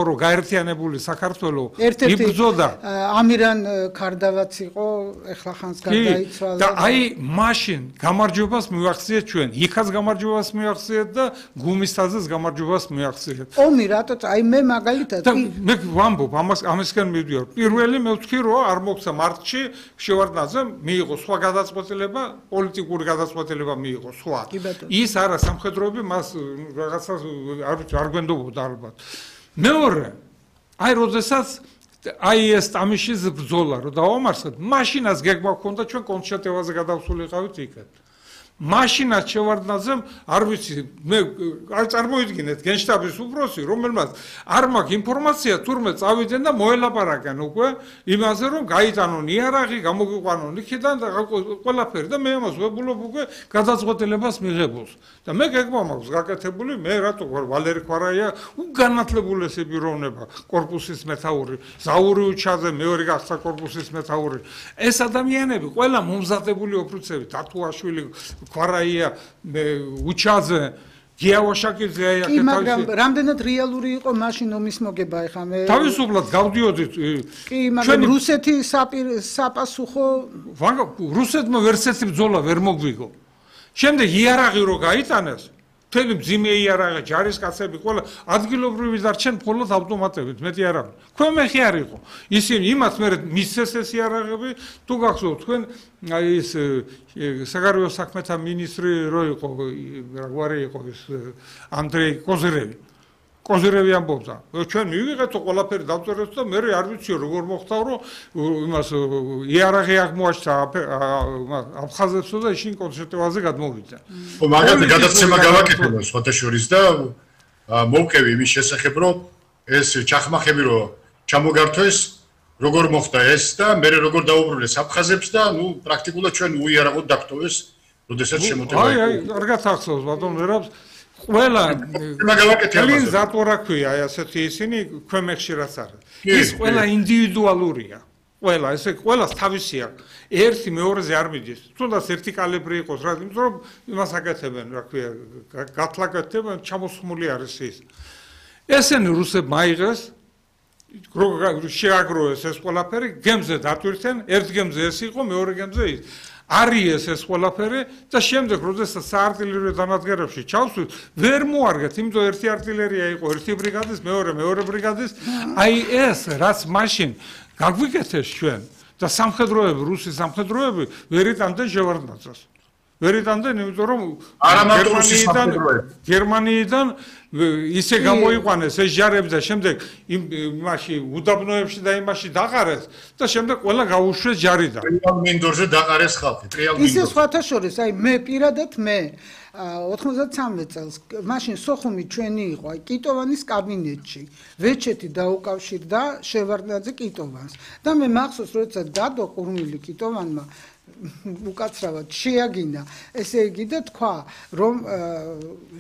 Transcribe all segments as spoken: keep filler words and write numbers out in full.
რომ გაერთიანებული საქართველოს ერთ-ერთი იბრძოდა ამირან ქარდავაც იყო ეხლა ხანს გარდაიცვალა და აი მაშინ გამარჯვებას მივახციეთ ჩვენ იქაც გამარჯვებას მივახციეთ და გუმისთაზეც გამარჯვებას მივახციეთ ომი რატო აი მე მაგალითად მე ვამბობ ამას ამისგან მივდივარ პირველი მე ვთქვი რომ არ მოხდა მარტში შევარდნაძემ მიიღო სხვა გადაწყვეტილება პოლიტიკური გადაწყვეტილება მიიღო სხვა ის არა სამხედროები მას რაღაცას არ გვენდობოდა ალბათ მეორე აი როდესაც აი ეს ტამიშის ბრძოლა რომ დავამარცხეთ მაშინაც გეგმა ჰქონდა ჩვენ კონჩეტევაზე გადავსულიყავით იქეთ მაშინაც შევარდნაძემ არ ვიცი მე არ წარმოიდგინეთ გენშტაბის უფროსი რომელმაც არ მაქვს ინფორმაცია თურმე წავიდნენ და მოელაპარაკენ უკვე იმაზე რომ გაიტანონ იარაღი გამოგიყვანონ იქიდან და ყველაფერი და მე ამას ვებულობ უკვე გადაწყვეტილებას მიღებულს და მე გეგმა მაქვს გაკეთებული მე რატო ვარ ვალერი ხვარაია უგანათლებული ეს პიროვნება კორპუსის მეთაური ზაური უჩაძე მეორე გახდა კორპუსის მეთაური ეს ადამიანები ყველა მომზადებული ოფიცრები თათუაშვილი ხვარაია უჩაძე გიავაშაკიძე კი მაგრამ რამდენად რეალური იყო მაშინ ომის მოგება ეხა მე თავისუფლად გავდიოდით კი მაგრამ რუსეთი საპასუხო რუსეთმა ვერცერთი ბრძოლა ვერ მოგვიგო შემდეგ იარაღი რო გაიტანეს მთელი მძიმე იარაღი ჯარისკაცები ყველა ადგილობრივი დარჩენ მხოლოდ ავტომატებით მეტი არ არის ქვემეხი არ იყო ისინი იმათ მე მისცეს ეს იარაღები თუ გახსოვთ თქვენ აი ეს საგარეო საქმეთა მინისტრი რო იყო რა გვარი იყო ეს ანდრეი კოზირევი კოზირევი ამბობდა ჩვენ მივიღეთ ყველაფერი დავწერეთ და მე არ ვიცი როგორ მოხდა რომ იმას იარაღი აღმოაჩნდა აფხაზეთსო და ისინი კონცერტებზე გადმოვიდა ხო მაგალითად გადაცემა გავაკეთებო სხვათა შორის და მოვკევი იმის შესახებ რომ ეს ჩახმახები რო ჩამოგართვეს როგორ მოხდა ეს და მე როგორ დაუბრუნეს აფხაზებს და ნუ პრაქტიკულად ჩვენ უიარაღოდ დაგტოვეს როდესაც შემოტევა აი აი კარგად ახსოვს ბატონ ვერავს ყველა კლინ ზატორა ქვია ასეთი ისინი ქვემეხში რაც არის ის ყველა ინდივიდუალურია ყველა ესე ყველას თავისი აქვს ერთი მეორეზე არ მიდის თუნდაც ერთი კალიბრი იყოს რა იმიტომ რომ იმას აკეთებენ რა ქვია გათლაკეთებენ ჩამოსხმული არის ის ესენი რუსებმა აიღეს შეაგროვეს ეს ყველაფერი გემზე დატვირთენ ერთ გემზე ეს იყო მეორე გემზე ის არის ეს ყველაფერი და შემდეგ როდესაც საარტილერიო დანადგარებში ჩავსვით ვერ მოარგეთ იმიტომ ერთი არტილერია იყო ერთი ბრიგადის მეორე მეორე ბრიგადის აი ეს რაც მაშინ გაგვიკეთეს ჩვენ და სამხედროები რუსი სამხედროები ვერ იტანდნენ შევარდნაძეს ვერ იტანდნენ იმიტომ რომ გერმანიიდან გერმანიიდან ისე გამოიყვანეს ეს ჯარები და შემდეგ იმაში უდაბნოებში და იმაში დაყარეს და შემდეგ ყველა გაუშვეს ჯარიდან ტრიალ მინდორზე დაყარეს ხალხი ტრიალ მინდორზე ისე სხვათა შორის აი მე პირადად მე ოთხმოცდამე წელს მაშინ სოხუმი ჩვენი იყო აი კიტოვანის კაბინეტში ვეჩეთი დაუკავშირდა შევარდნაძე კიტოვანს და მე მახსოვს როცა დადო ყურმილი კიტოვანმა უკაცრავად შეაგინა ესე იგი და თქვა რომ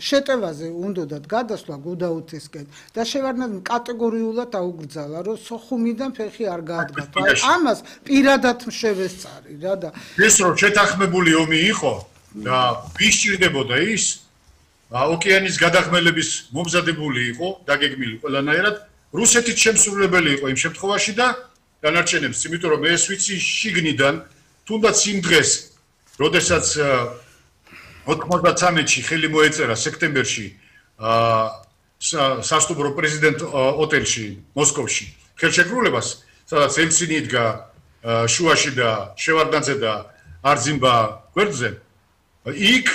შეტევაზე უნდათ გადასვლა გუდაუთისკენ და შევარდნაძემ კატეგორიულად აუგრძალა რომ სოხუმიდან ფეხი არ გაადგა აი ამას პირადად შევესწარი რა და ეს რომ შეთანხმებული ომი იყო და ვის ჭირდებოდა ის ოკეანის გადახმელების მომზადებული იყო დაგეგმილი ყველანაირად რუსეთით შემსრულებელი იყო იმ შემთხვევაში და დანარჩენებს იმიტომ რომ ეს ვიცი შიგნიდან თუნდაც იმ დღეს როდესაც ოთხმოცდამეში ხელი მოეწერა სექტემბერში სასტუმრო პრეზიდენტ ოტელში მოსკოვში ხელშეკრულებას სადაც ელცინი იდგა შუაში და შევარდნაძე და არძიმბა გვერდზე იქ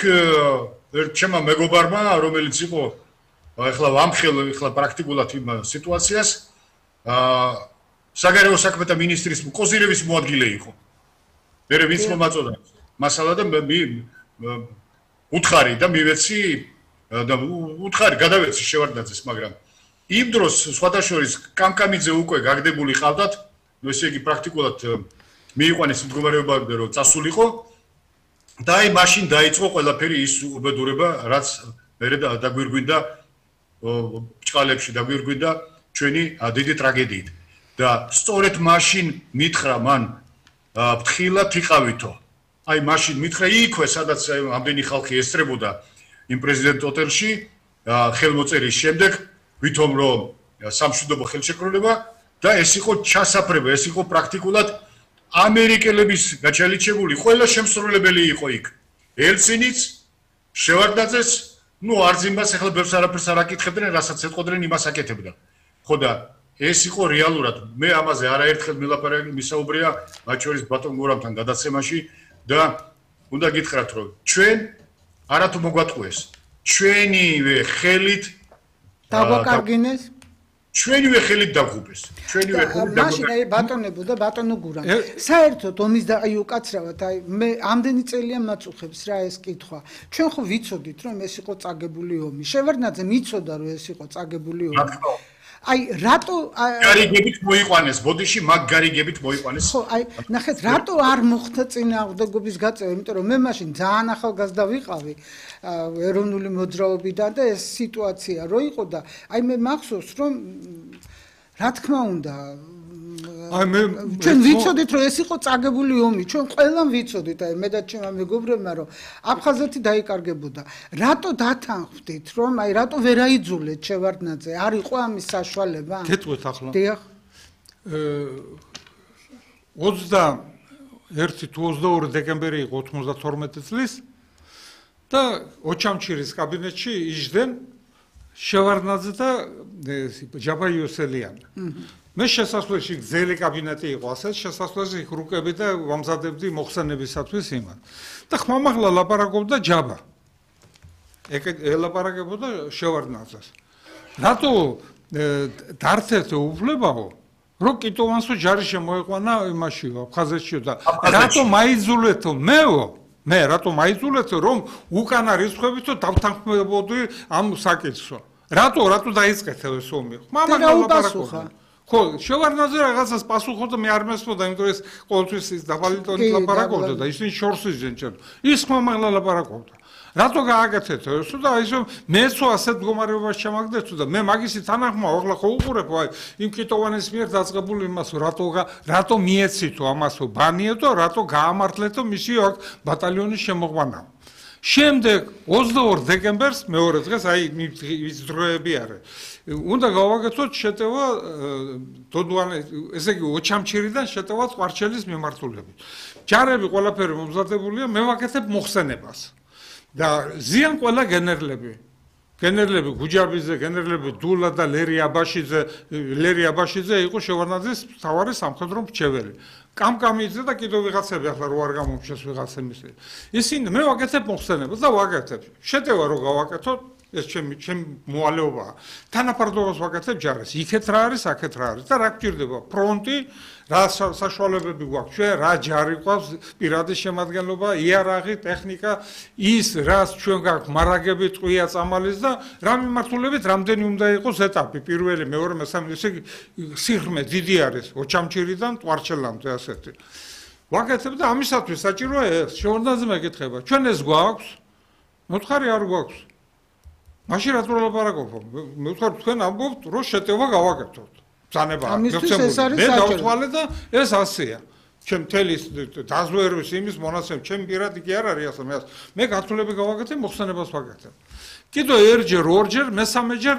ჩემმა მეგობარმა რომელიც იყო ახლა ვამხელ ახლა პრაქტიკულად იმ სიტუაციას საგარეო საქმეთა მინისტრის კოზირევის მოადგილე იყო მე ვინც მომაწოდა მასალა და უთხარი და მივეცი და უთხარი გადავეცი შევარდნაძეს მაგრამ იმ დროს სხვათა შორის კამკამიძე უკვე გაგდებული ყავდათ ნუ ესე იგი პრაქტიკულად მიიყვანეს მდგომარეობამდე რომ წასულიყო და აი მაშინ დაიწყო ყველაფერი ის უბედურება რაც მე დაგვირგვინდა ბჭყალებში დაგვირგვინდა ჩვენი დიდი ტრაგედიით და სწორედ მაშინ მითხრა მან ფრთხილად იყავითო აი მაშინ მითხრა იქვე სადაც ამდენი ხალხი ესწრებოდა იმ პრეზიდენტ ოტელში ხელმოწერის შემდეგ ვითომ რომ სამშვიდობო ხელშეკრულება და ეს იყო ჩასაფრება, ეს იყო პრაქტიკულად ამერიკელების გაჩალიჩებული ყველა შემსრულებელი იყო იქ. ელცინიც, შევარდნაძეს, ნუ არზიმბას ახლა ბევრს არაფერს არ აკითხებდნენ, რასაც ეთყოდნენ, იმას აკეთებდა. ხო და ეს იყო რეალურად. მე ამაზე არაერთხელ მილაპარაკე, მისაუბრია მათ შორის ბატონ გურამთან გადაცემაში და უნდა გითხრათ, რომ ჩვენ არათუ მოგვატყუეს. ჩვენივე ხელით დაგვაკარგინეს ჩვენივე ხელით დაგუბეს. ჩვენივე ხელით დაგუბეს. მაშინ აი ბატონებო და ბატონო გურამ. საერთოდ ომის და აი უკაცრავად აი მე ამდენი წელია მაწუხებს რა ეს კითხვა. ჩვენ ხო ვიცოდით რომ ეს იყო წაგებული ომი. შევარდნაძე მიცოდა რომ ეს იყო წაგებული ომი. აი რატო გარიგებით მოიყვანეს ბოდიში მაგ გარიგებით მოიყვანეს ხო აი ნახეთ რატო არ მოხდა წინააღმდეგობის გაწევა იმიტომ რომ მე მაშინ ძალიან ახალგაზრდა ვიყავი ეროვნული მოძრაობიდან და ეს სიტუაცია რო იყო და აი მე მახსოვს რომ რა თქმა უნდა აი მე ჩვენ ვიცოდით რომ ეს იყო წაგებული ომი ჩვენ ყველამ ვიცოდით აი მე და ჩემმა მეგობრებმა რომ აფხაზეთი დაიკარგებოდა რატო დათანხმდით რომ აი რატო ვერ აიძულეთ შევარდნაძე არ იყო ამის საშუალება გეტყვით ახლა დიახ ოცდაერთი თუ ოცდაორი დეკემბერი იყო ოთხმოცდათორმეტი წლის და ოჩამჩირის კაბინეტში იჯდნენ შევარდნაძე და ჯაბა იოსელიანი მე შესასვლელში გზელი კაბინეტი იყო ასე შესასვლელში ხრუკები და ვამზადებდი მოხსენებისათვის იმან და ხმამაღლა ლაპარაკობდა ჯაბა ელაპარაკებოდა შევარდნაძეს რატო დართეთ უფლებაო რო კიტოვანსო ჯარი შემოეყვანა იმაშიო აფხაზეთშიო და რატო მაიძულეთო მეო მე რატო მაიძულეთო რომ უკანა რიცხვებითო დავთანხმებოდი ამ საკითხსო რატო რატო დაიწყეთო ეს ომი ხმამაღლა ლაპარაკობდა ხო შევარდნაძე რაღაცას პასუხობდა მე არ მესმოდა იმიტომ ეს ყოველთვის ის დაბალი ტონით ლაპარაკობდა და ისინი შორს იძენ ჩვენ ის ხმამაღლა ლაპარაკობდა რატო გააკეთეთ ესო და ისო მეცო ასეთ მდგომარეობაში ჩამაგდეთო და მე მაგისი თანახმა ახლა ხო უყურებ აი იმ კიტოვანის მიერ დაწყებული იმასო რატო რატო მიეცითო ამასო ბანიეთო რატო გაამართლეთო მისი აქ ბატალიონის შემოყვანა შემდეგ ოცდაორ დეკემბერს მეორე დღეს აი ის დროები არის უნდა გავაკეთოთ შეტევა დოდوانე ესე იგი ოჩამჩირიდან შეტევა ყვარჩელის მიმართულებით ჯარები ყველაფერი მომზადებულია მე ვაკეთებ მოხსენებას და ზიან ყველა გენერლები გენერლები გუჯაბიძე გენერლები დულა და ლერი აბაშიძე ლერი აბაშიძე იყო შევარდნაძის მთავარი სამხედრო მრჩეველი კამკამიძე და კიდევ ვიღაცები ახლა რო არ გამომჩეს ვიღაცების ისინი მე ვაკეთებ მოხსენებას და ვაკეთებ შეტევა რო გავაკეთოთ ეს ჩემი ჩემი მოვალეობაა თანაფარდობას ვაკეთებ ჯარს იქეთ რა არის აქეთ რა არის და რა გჭირდება ფრონტი რა საშუალებები გვაქვს ჩვენ რა ჯარი გვაქვს პირადი შემადგენლობა იარაღი ტექნიკა ის რაც ჩვენ გაქვს მარაგები ტყვია წამალის და რა მიმართულებით რამდენი უნდა იყოს ეტაპი პირველი მეორე მესამე ესე სიღრმე დიდი არის ოჩამჩირიდან ტვარჩელამდე ასეთი ვაკეთებ და ამისათვის საჭიროა ეს შევარდნაძე მეკითხება ჩვენ ეს გვაქვს მოთხარი არ გვაქვს მაშინ რატო ლაპარაკობ მე ვთქვარ თქვენ ამბობთ რომ შეტევა გავაკეთოთ ბრძანება მე დავთვალე და ეს ასეა ჩემ თელის დაზვერვის იმის მონაცემ ჩემ პირადი კი არ არის ასე მე მე გათვლები გავაკეთე მოხსენებას ვაკეთებ კიდევ ერჯერ ორჯერ მესამეჯერ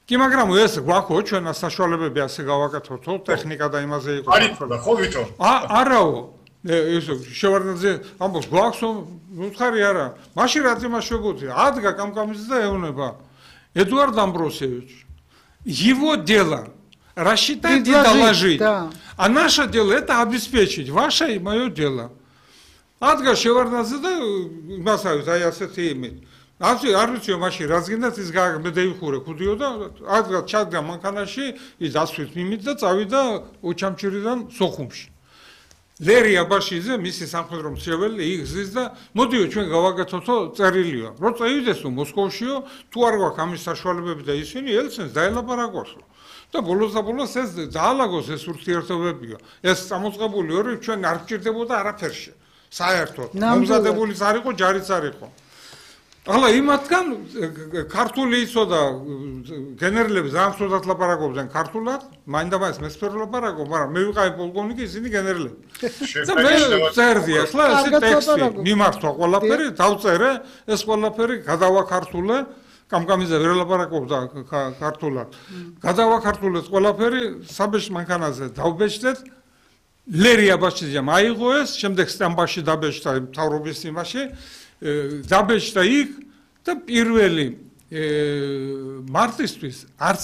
კი მაგრამ ეს გვაქვს ჩვენ საშუალებები ასე გავაკეთოთ ტექნიკა და იმაზე იყო არის ხო ვითომ არაო ეს შევარდნაძე ამბობს გვაქვს უთხარი არა მაშინ რა თემა შეგვიძლია ადგა კამკამიძე და ეუბნება эдуард амбросевич его дело рассчитать и доложить да. а наше дело это обеспечить ваше и мое дело ადგა შევარდნაძე და მასავით აი ასეთი იმით ასე არ ვიცი მაშინ რაც გინდათ ის მე დაიხურე ქუდიო და ადგა ჩადგა მანქანაში ის ასვით მიმით და წავიდა ოჩამჩირიდან სოხუმში ლერი აბაშიძე მისი სამხედრო მრჩეველი იგზის და მოდიო ჩვენ გავაკეთოთო წერილიო რო წევიდესო მოსკოვშიო თუ არ გვაქვს ამის საშუალებები და ისინი ელცინს დაელაპარაკოსო და ბოლოს და ბოლოს ეს დაალაგოს ეს ურთიერთობებიო ეს წამოწყებული ორი ჩვენ არ გჭირდებოდა არაფერში საერთოდ მომზადებული არ იყო ჯარიც არ იყო ახლა იმათგან ქართული იცოდა და გენერლები ძალიან ცუდად ლაპარაკობდნენ ქართულად მაინდამაინც მესფერო ლაპარაკობ მაგრამ მე ვიყავი პოლკოვნიკი ისინი გენერლები და მე წერდი ახლა ესე ტექსტი მიმართვა ყველაფერი დავწერე ეს ყველაფერი გადავაქართულე კამკამიძე ვერ ელაპარაკობდა ქართულად. გადავაქართულეთ ყველაფერი, საბეჭ მანქანაზე დავბეჭდეთ. ლერი აბაშიძემ აიღო ეს, შემდეგ სტამბაში დაბეჭდა მთავრობის იმაში, დაბეჭდა იქ და პირველი მარტისთვის არც